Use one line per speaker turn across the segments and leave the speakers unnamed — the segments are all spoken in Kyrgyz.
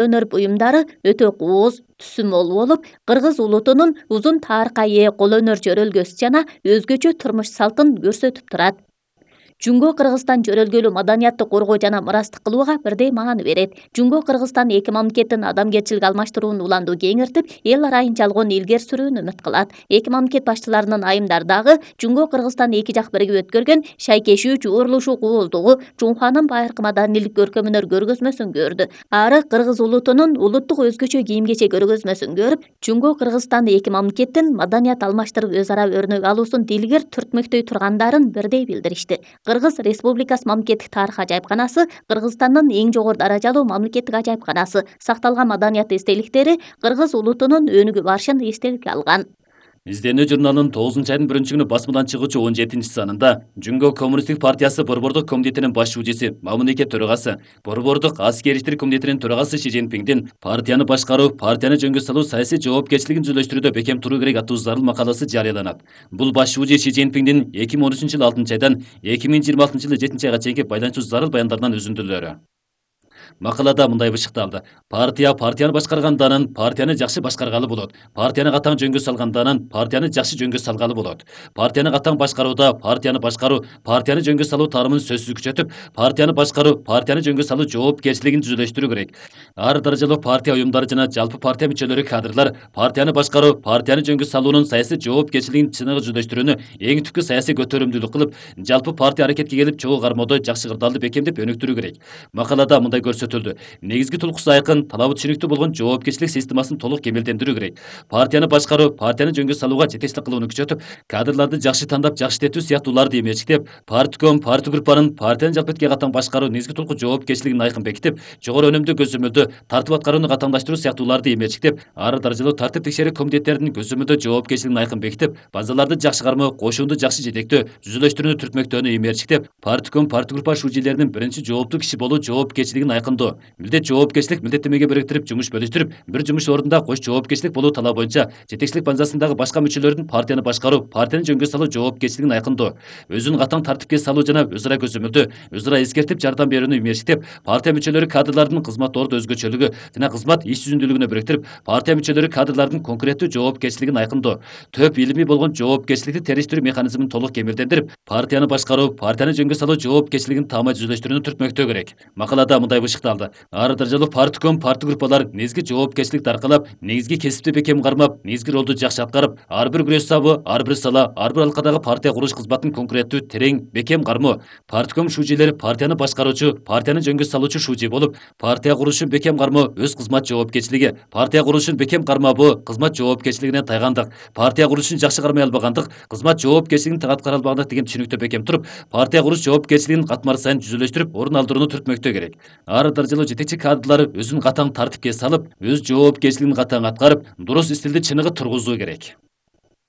өнөр буюмдары өтө кооз, түсү мол болуп, кыргыз улутунун узун тарыхка ээ кол өнөр жөрөлгөсү жана өзгөчө турмуш салтын көрсөтүп турат. Жунго Кыргызстан жөрөлгөлүү маданиятты коргоо жана мырастык кылууга бирдей маани берет. Жунго Кыргызстан эки мамлекеттин адамгерчилик алмаштыруун уланду кеңиртип, эл арайын жалгоон илгери сүрүүнү үмүт кылат. Эки мамлекет башчыларынын айымдары дагы Жунго Кыргызстан эки жак биригип өткөргөн шайкешүү, жуурулушуу, кооздугу, Жунханын байыркы маданийлик көркөмөнөр көргөзмөсүн көрдү. Ары кыргыз улутунун улуттук өзгөчө кийим-кечек көргөзмөсүн көрүп, Жунго Кыргызстан эки мамлекеттин маданият алмаштырып өз ара өрнөк алуусун дилгер түртмөктөй тургандарын бирдей билдиришти. Кыргыз Республикасы мамлекеттик тарых ажайыпканасы Кыргызстандын эң жогору даражалуу мамлекеттик ажайыпканасы. Сакталган маданият эстеликтери кыргыз улутунун өнүгүп барышын эстеликке алган.
Изденүү журналынын 9-айдын 1-күнү басмадан чыгуучу 17-санында Жунго Коммунисттик партиясы Борбордук комитетинин баш шужиси, мамлекет төрагасы, Борбордук аскери иштер комитетинин төрагасы Ши Цзиньпиндин партияны башкаруу, партияны жөнгө салуу саясий жоопкерчилигин түзүлүштүрүүдө бекем туруу керек аттуу зарыл макаласы жарыяланат. Бул баш шужи Ши Цзиньпиндин 2013-жылы 6-айдан 2026-жылы 7-айга чейинки байланышчу зарыл баяндарынан үзүндүлөрү. Макалада мындай бышыкталды. Партияны башкарганданын партияны жакшы башкаргалы болот. Партияны катаң жөнгө салганданын партияны жакшы жөнгө салгалы болот. Партияны катаң башкарууда партияны башкаруу, партияны жөнгө салуу тармын сөзсүз күчөтүп, партияны башкаруу, партияны жөнгө салуу жоопкерчилигин түзүлүштүрүү керек. Ар даражалуу партия уюмдары жана жалпы партия мүчөлөрү кадрлар партияны башкаруу, партияны жөнгө салуунун саясий жоопкерчилигин чыныгы жүздөштүрүүнү эң түпкү саясий көтөрүмдүүлүк кылып, жалпы партия аракетке келип чогуу кармоодо жакшы кырдаалды бекемдеп өнүктүрүү керек. Макалада мындай көрсөтүлдү. Негизги тулкусу айкын, талабы түшүнүктүү болгон жоопкерчилик системасын толук кемелдендирүү керек. Партияны башкаруу, партияны жөнгө салууга жетекчилик кылууну күчөтүп, кадрларды жакшы тандап, жакшы иштетүү сыяктууларды эмечектеп, партком, партгруппанын партиянын жалпы этке катаң башкаруу негизги тулку жоопкерчилигин айкын бекитип, жогору өнүмдүү көзөмөлдө тартып аткарууну катаңдаштыруу сыяктууларды эмечектеп, ары даражалуу тартип текшерүү комитеттеринин көзөмөлдө жоопкерчилигин айкын бекитип, базаларды жакшы кармоо, кошуунду жакшы жетектөө, түзүлүштүрүүнү түртмөктөөнү эмерчиктеп, партком, партгруппа шужилеринин биринчи жооптуу киши болуу жоопкерчилигин айкындоо, милдет жоопкерчилик милдеттемеге бириктирип жумуш бөлүштүрүп, бир жумуш ордунда кош жоопкерчилик болуу талабы боюнча жетекчилик базасындагы башка мүчөлөрдүн партияны башкаруу, партияны жөнгө салуу жоопкерчилигин айкындоо, өзүн катаң тартипке салуу жана өз ара көзөмөлдөө, өз ара эскертип жардам берүүнү эмерчиктеп, партия мүчөлөрү кадрлардын кызмат орду өзгөчөлүгү жана кызмат иш жүзүндүүлүгүнө бириктирип, партия мүчөлөрү кадрлардын конкреттүү жоопкерчилигин айкындоо, төп илимий болгон жоопкерчиликти териштирүү механизмин толук кемелдендирип, партияны башкаруу, партияны жөнгө салуу жоопкерчилигин таамай түзүлүштүрүүнү түртмөктөө керек. Макалада мындай бышыкталды. Ар даражалуу партком, партгруппалар негизги жоопкерчиликти аркалап, негизги кесипти бекем кармап, негизги ролду жакшы аткарып, ар бир күрөш сабы, ар бир сала, ар бир алкадагы партия куруш кызматын конкреттүү, терең, бекем кармоо. Партком шужилер партияны башкаруучу, партияны жөнгө салуучу шужи болуп, партия курушун бекем кармоо өз кызмат жоопкерчилиги, партия курушун бекем кармабы кызмат жоопкерчилигине тайгандык, партия курушун жакшы кармай албагандык, кызмат жоопкерчилигин аткара албагандык деген түшүнүктө бекем туруп, партия куруш жоопкерчилигин катмар сайын түзүлүштүрүп, орун алдырууну түртмөктөө керек. Ар даражалуу жетекчи кадрлар өзүн катаң тартипке салып, өз жоопкерчилигин катаң аткарып, дурус стилди чыныгы тургузуу керек.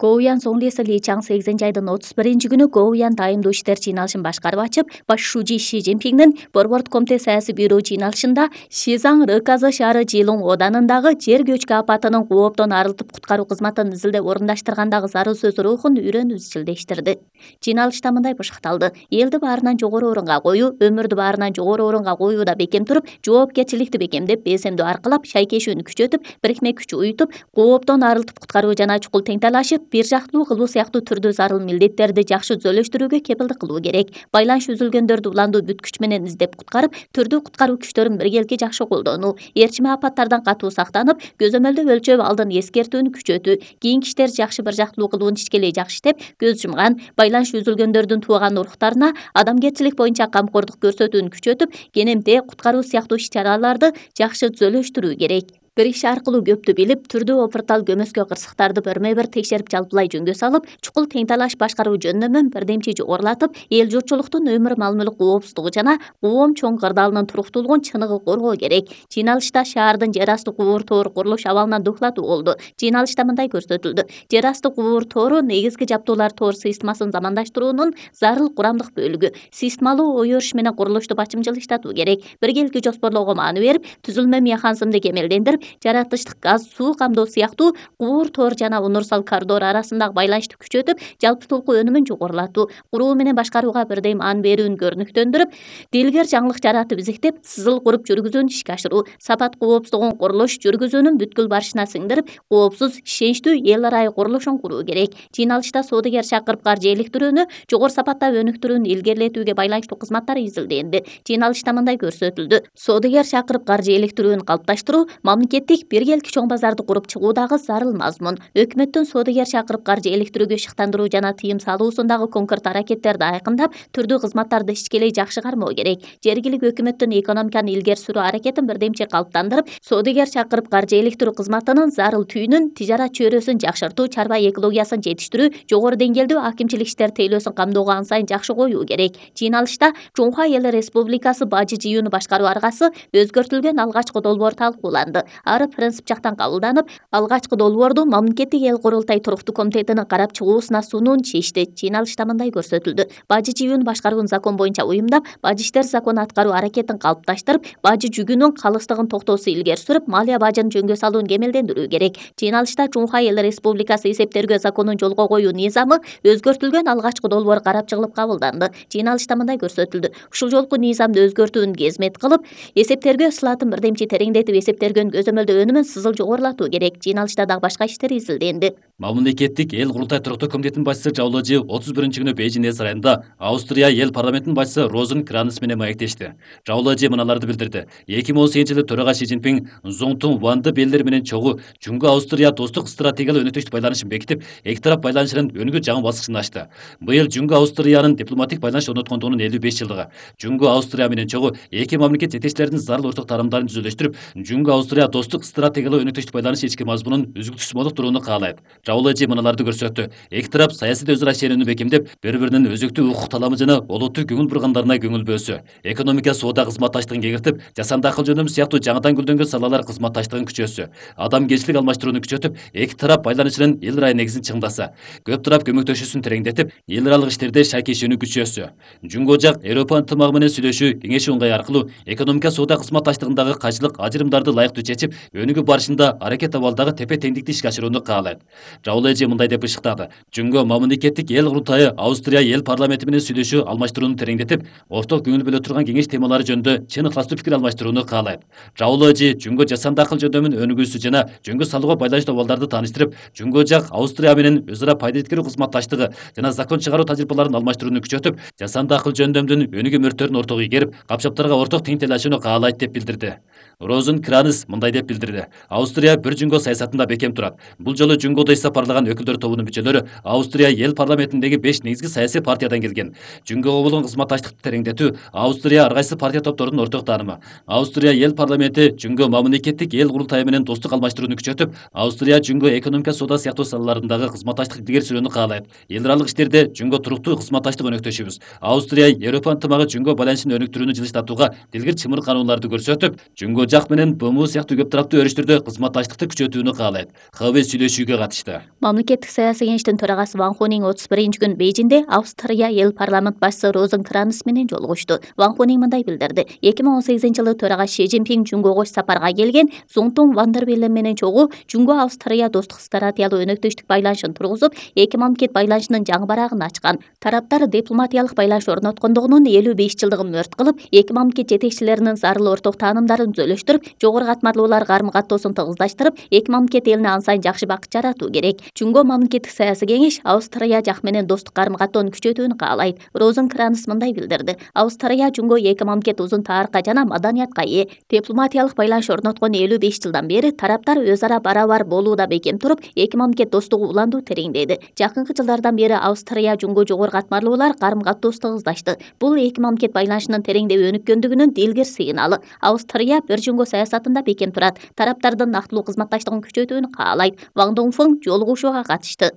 Гоуян Соңлеси Ли Чаң 8-айдын 31-күнү Гоуян дайымдуу иштер жыйналышын башкарып ачып, баш шужи Ши Цзиньпиндин Борбордук комитет саясий бюро жыйналышында Шизаң Рыказы шаары Жылуң оданындагы жер көчкү апатынын кооптон арылтып куткаруу кызматын изилдеп орундаштыргандагы зарыл сөз рухун үйрөнүү изчилдештирди. Жыйналышта мындай бышыкталды. Элди баарынан жогору орунга коюу, өмүрдү баарынан жогору орунга коюуда бекем туруп, жоопкерчиликти бекемдеп, беземдүү аркылап, шайкешүүнү күчөтүп, бирикме күч уютуп, кооптон арылтып куткаруу жана чукул теңтайлашып, бир жактуу кылуу сыяктуу түрдүү зарыл милдеттерди жакшы түзөлүштүрүүгө кепилдик кылуу керек. Байланыш үзүлгөндөрдү уландуу бүт күч менен издеп куткарып, түрдүү куткаруу күчтөрүн биргеликке жакшы колдонуу, ээрчиме апаттардан катуу сактанып, көзөмөлдө өлчөп алдын эскертүүнү күчөтүү, кийинки иштерди жакшы бир жактуу кылуун ичкелей жакшы иштеп, көз жумган, байланыш үзүлгөндөрдүн тууган уруктарына адамгерчилик боюнча камкордук көрсөтүүнү күчөтүп, кенемте, куткаруу сыяктуу иш-чараларды жакшы түзөлүштүрүү керек. Бир иш аркылуу көптү билип, түрдүү опуртал көмөскө кырсыктарды берме-бир текшерип жалпылай жөнгө салып, чукул теңтайлаш башкаруу жөндөмүн бирдемчи жогорулатып, эл журтчулуктун өмүр мал-мүлк коопсуздугу жана коом чоң кырдаалынын туруктуулугун чыныгы коргоо керек. Жыйналышта шаардын жер асты кубур тору курулуш абалынан дуклатуу болду. Жыйналышта мындай көрсөтүлдү. Жер асты кубур тору негизги жаптуулар тор системасын замандаштыруунун зарыл курамдык бөлүгү. Системалуу ой өрүш менен курулушту бачымчыл иштатуу керек. Биргеликти жоспорлоого маани берип, түзүлмө механизмди кемелдендирип, жаратылыштык газ, суу камдоо сыяктуу куур тор жана универсал коридор арасындагы байланышты күчөтүп, жалпытуулку өнүмүн жогорулатуу, куруу менен башкарууга бирдей маани берүүнү көрүнүктөндүрүп, дилгер жаңылык жаратып изектеп, сызыл куруп жүргүзүүнү ишке ашыруу, сапат коопсуздугун курулуш жүргүзүүнүн бүткүл барышына сиңдирип, коопсуз, ишеничтүү эл арайы курулушун куруу керек. Жыйналышта соодагер чакырып каржы иликтирүүнү жогору сапатта өнүктүрүүнү илгерилетүүгө байланыштуу кызматтар изилденди. Жыйналышта мындай көрсөтүлдү: соодагер чакырып каржы иликтирүүнү калыпташтыруу, мамлекеттик биргелки чоң базарды куруп чыгуудагы зарыл мазмун. Өкмөттүн соодагер чакырып каржы иликтирүүгө шыктандыруу жана тыйым салуусундагы конкрет аракеттерди айкындап, түрдүү кызматтарды ичкелей жакшы кармоо керек. Жергиликтүү өкмөттүн экономиканы илгери сүрүү аракетин бирдемчи калыптандырып, соодагер чакырып каржы иликтирүү кызматынын зарыл түйүнүн, тижарат чөйрөсүн жакшыртуу, чарба экологиясын жетиштирүү, жогору деңгээлдүү акимчилик иштер тейлөөсүн камдоого ан сайын жакшы коюу керек. Жыйналышта Чоңха Эл Республикасы бажы жыюуну башкаруу аргасы өзгөртүлгөн алгачкы долбоор талкууланды. Ары принцип жактан кабылданып, алгачкы долбоорду мамлекеттик эл курултай туруктуу комитетинин карап чыгуусуна сунууну чечти. Жыйналышта мындай көрсөтүлдү: бажы жыюуну башкарууну закон боюнча уюмдап, бажы иштер закону аткаруу аракетин калыпташтырып, бажы жүгүнүн калыстыгын токтоосу илгери сүрүп, малия бажын жөнгө салууну кемелдендирүү керек. Жыйналышта Чоңха Эл Республикасы эсептергөө законун жолго коюу низамы өзгөртүлгөн алгачкы долбоор карап чыгылып кабылданды. Жыйналышта мындай көрсөтүлдү: ушул жолку низамды өзгөртүүнү кезмет кылып, эсептергөө сылатын бирдемчи тереңдетип, эсептергөн көзөмөлдөө өнүмүн сызыл жогорулатуу керек. Жыйналышта дагы башка иштер изилденди.
Мамлекеттик эл курултай туруктуу комитетинин башчысы Жаулажы 31-күнү Бейжиң эс сарайында Австрия эл парламентинин башчысы Розен Кранес менен маектешти. Жаулажы мыналарды билдирди: 2018-жылы төрага Си Цзиньпин Зоңтун Ванды белдери менен чогуу Жуңгу Австрия достук стратегиялык өнөктөштүк байланышын бекитип, эки тарап байланышынын өнүгүү жаңы баскычын ачты. Быйыл Жуңгу Австриянын дипломатик байланыш орноткондугунун 55 жылдыгы. Жуңгу Австрия менен чогуу эки мамлекет жетекчилеринин зарыл орток тарамдарын түзүлүштүрүп, Жуңгу Австрия достук стратегиялык өнөктөштүк байланыш ички мазмунун үзүктүсүз молуктурууну каалайт. Жаулажы мыналарды көрсөттү: эки тарап саясий өзара ишенүүнү бекемдеп, бири-биринин өзүктүү укук таламы жана олуттуу көңүл бургандарына көңүл бөлсө, экономика, соода кызматташтыгын кеңиртип, жасанды акыл жөнөмү сыяктуу жаңыдан гүлдөнгөн салалар кызматташтыгын күчөтсө, адамгерчилик алмаштырууну күчөтүп, эки тарап байланышынын эл арайы негизин чыңдаса, көп тарап көмөктөшүүсүн тереңдетип, эл аралык иштерде шайкы ишенүү күчөтсө, Жуңгу жак Европа ынтымагы менен сүйлөшүү, кеңешүү ыңгай аркылуу экономика, соода кызматташтыгындагы кайчылык ажырымдарды ылайыктуу чечип, өнүгүү барышында аракет абалдагы тепе теңдикти ишке ашырууну каалайт. Жаулажы мындай деп ышыктады: Жуңгу мамлекеттик эл курултайы Австрия эл парламенти менен сүйлөшүү алмаштырууну тереңдетип, орток көңүл бөлө турган кеңеш темалары жөнүндө чын ыкластуу пикир алмаштырууну каалайт. Жаулажы Жуңгу жасанды акыл жөндөмүн өнүгүүсү жана жөнгө салууга байланыштуу абалдарды тааныштырып, Жуңгу жак Австрия менен өз ара пайда эткерүү кызматташтыгы жана закон чыгаруу тажрыйбаларын алмаштырууну күчөтүп, жасанды акыл жөндөмдүн өнүгүү мөрттөрүн ортого игерип, капчаптарга орток тең тейлашууну каалайт деп билдирди. Розен Кранес мындай деп билдирди: Австрия бир Жуңгу саясатында бекем турат. Бул жолу Жуңгууда ис сапарлаган өкүлдөр тобунун мүчөлөрү Австрия эл парламентиндеги 5 негизги саясий партиядан келген. Жуңгуга болгон кызматташтыкты тереңдетүү Австрия ар кайсы партия топторунун орток таанымы. Австрия эл парламенти Жуңгу мамлекеттик эл курултайы менен достук алмаштырууну күчөтүп, Австрия Жуңгу экономика, соода сыяктуу салаларындагы кызматташтык илгери сүрүүнү каалайт. Эл аралык иштерде Жуңгу туруктуу кызматташтык өнөктөшүбүз. Австрия Европа ынтымагы Жуңгу байланышын өнүктүрүүнү жылыштатууга дилгир чымыр канууларды көрсөтүп, Жуңгу жак менен БМУ сыяктуу көп тараптуу өрүштөрдө кызматташтыкты күчөтүүнү каалайт. ХБ сүйлөшүүгө катышты.
Мамлекеттик саясий кеңештин төрагасы Ван Хунинг 31-күнү Бейжиңде Австрия эл парламент башчысы Розен Кранес менен жолугушту. Ван Хунинг мындай билдирди: 2018-жылы төрага Си Цзиньпин Жуңгуга сапарга келген, Зоңтун Ванды белдери менен чогуу Жуңгу Австрия достук стратегиялык өнөктөштүк байланышын тургузуп, эки мамлекет байланышынын жаңы барагын ачкан. Тараптар дипломатиялык байланыш орноткондугунун 55 жылдыгын мөрт кылып, эки мамлекет жетекчилеринин зарыл орток таанымдарын түзөлүштүрүп, жогору катмарлуулар карым-каттоосун тыгыздаштырып, эки мамлекет элине ан сайын жакшы бакыт жаратуу керек. Жуңгу мамлекеттик саясий кеңеш Австрия жак менен достук карым-каттоону күчөтүүнү каалайт. Розен Кранес мындай билдирди: Австрия Жуңгу эки мамлекет узун тарыхка жана маданиятка ээ. Дипломатиялык байланыш орноткон 55 жылдан бери тараптар өз ара барабар болууда бекем туруп, эки мамлекет достугу уланду тереңдеди. Жакынкы жылдардан бери Австрия Жуңгу жогору катмарлуулар карым-каттоосу тыгыздашты. Бул эки мамлекет байланышынын тереңдеп өнүккөндүгүнүн дилгир сыйналы. Австрия бир Жуңгу саясатында бекем турат, тараптардын нактылуу кызматташтыгын күчөтүүнү каалайт. Ван Доңфун жолугушууга катышты.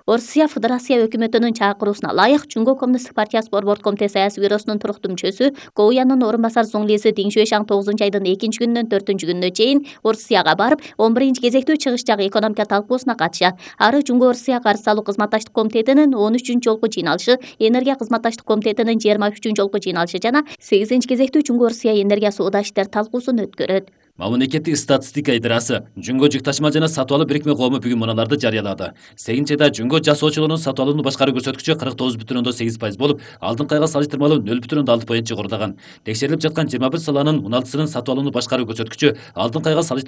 Орусия Федерация өкмөтүнүн чакыруусуна ылайык Жуңгу коммунисттик партиясы борбордук комитет саясий бюросунун туруктуу мүчөсү, Гоуянын орун басар Зоңлиси Диң Шуэшаң 9-айдын 2-күнүнөн 4-күнүнө чейин Орусияга барып, 11-кезектүү чыгыш жагы экономика талкуусуна катышат. Ары Жуңгу Орусия каршы салуу кызматташтык комитетинин 13-жолку жыйналышы, энергия кызматташтык комитетинин 23-жолку жыйналышы жана 8-кезектүү Жуңгу Орусия энергия соода иштер талкуусун өткөрөт.
Мамлекеттик статистика идарасы Жүнгө жүк ташыма жана сатып алуу бирикме коому бүгүн муналарды жарыялады. 8-айда жүнгө жасоочулордун сатып алууну башкаруу көрсөткүчү 49,8% болуп, алдыңкы айга салыштырмалуу 0,6 point жогорудаган. Текшерилип жаткан 21 саланын 16сынын сатып алууну башкаруу көрсөткүчү алдыңкы айга салыштырмалуу